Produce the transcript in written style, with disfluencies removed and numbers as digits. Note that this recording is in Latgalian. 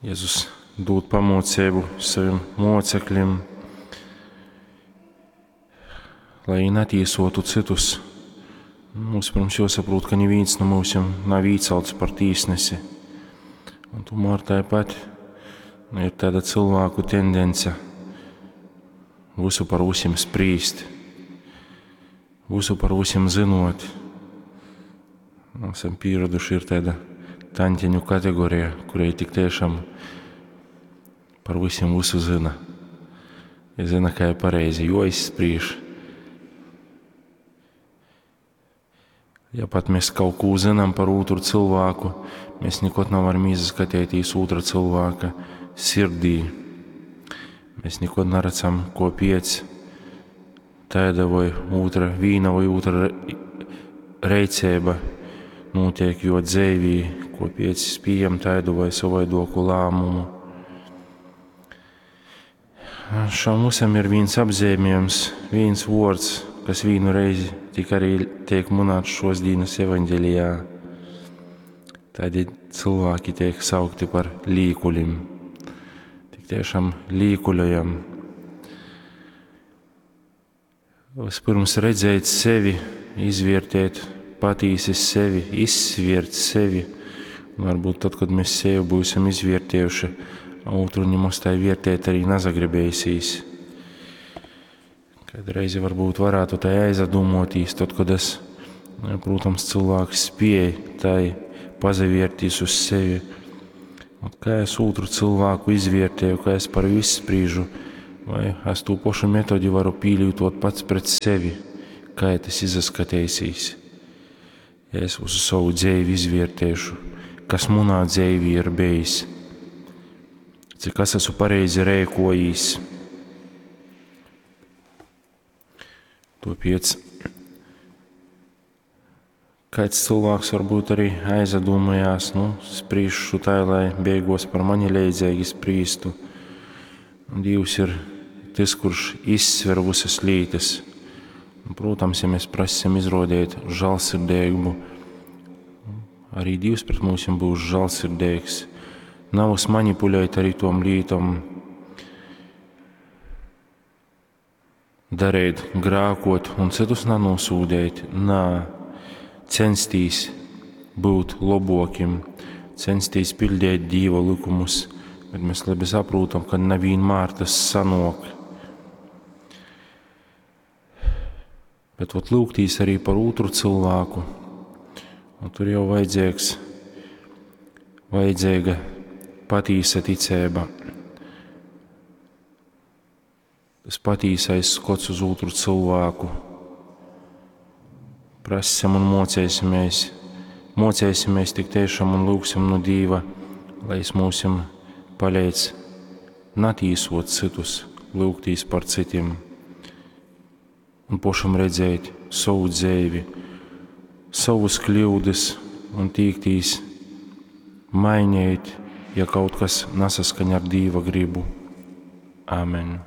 Jezus dūd pamōceibu sovim mōceklim, lai jī natīsotu cytus. Mums, pirms, juosaprūt, ka nivīns nu myusim nav īcelts par tīsnesi. Un tomēr tāpat ir tāda cilvēku tendence visu par visiem sprīst, visu par visiem zinot. Esam pieraduši, ir tāda tantiņu kategorija, kurai tik tiešām par visiem visu zina. Ja zina, kā ir pareizi joizspriež. Ja pat mēs kaut ko zinām par otru cilvēku, mēs nekad nevaram ieskatīties otra cilvēka sirdī. Mēs nekad neredzam, ko piec tāda vai otra, vīna vai otra reicība notiek, jo dzēvī, ko piec pieņem tādu vai savaidoku lēmumu. Šam visam ir viens apzīmējums, viens vārds, kas vienu reizi tik arī tiek minēts šos dienas evaņģēlijā. Tādi cilvēki tiek saukti par līkuļiem. Tik tiešām līkuļojam. Vispirms redzēt sevi, izvērtēt patīsi sevi, izsviert sevi. Un varbūt tad, kad mēs sevi būsim izvērtējuši, otru nemaz tā vērtēt arī nezagribēsīs. Kādreiz varbūt varētu tai aizdomotīs, tad, kad es, protams, cilvēks spēj tai pazavērtīs uz sevi. Un kā es otru cilvēku izvērtēju, kā es par visu sprīžu, vai es to pašu metodi varu pīlītot pats pret sevi, kā tas izaskatīsīs. Ja es visu savu dzīvi izvērtēšu, kas manā dzīvī ir bijis, cik es esmu pareizi rēkojis. Tāpēc kāds cilvēks varbūt arī aizdomājās, nu, sprīšu tā, lai beigos par mani leidzīgi sprīstu. Un Dievs ir tas, kurš izsver visas lietas. Un, protams, ja mēs prasam izrodēt žēlsirdīgumu, arī Dievs pret mums būs žēlsirdīgs. Nav uz manipulēt arī tom lītom, darīt, grākot un citus nenosūdēt. Nā, censties būt labokim, censties pildīt Dieva likumus, bet mēs labi saprotam, ka nevienmēr tas sanok. Bet ot, lūgtīs arī par otru cilvēku, un tur jau vajadzīgs, vajadzīga patīsa ticība. Tas patīsais skots uz otru cilvēku. Prasam un mocēsimies, mocēsimies tik tiešām un lūgsim no Dieva, lai es mūsim palīdz natīsot citus, lūgtīs par citiem un pašam redzēt savu dzīvi, savus kļūdas un tīktīs mainīt, ja kaut kas nesaskaņ ar Dieva gribu. Amen.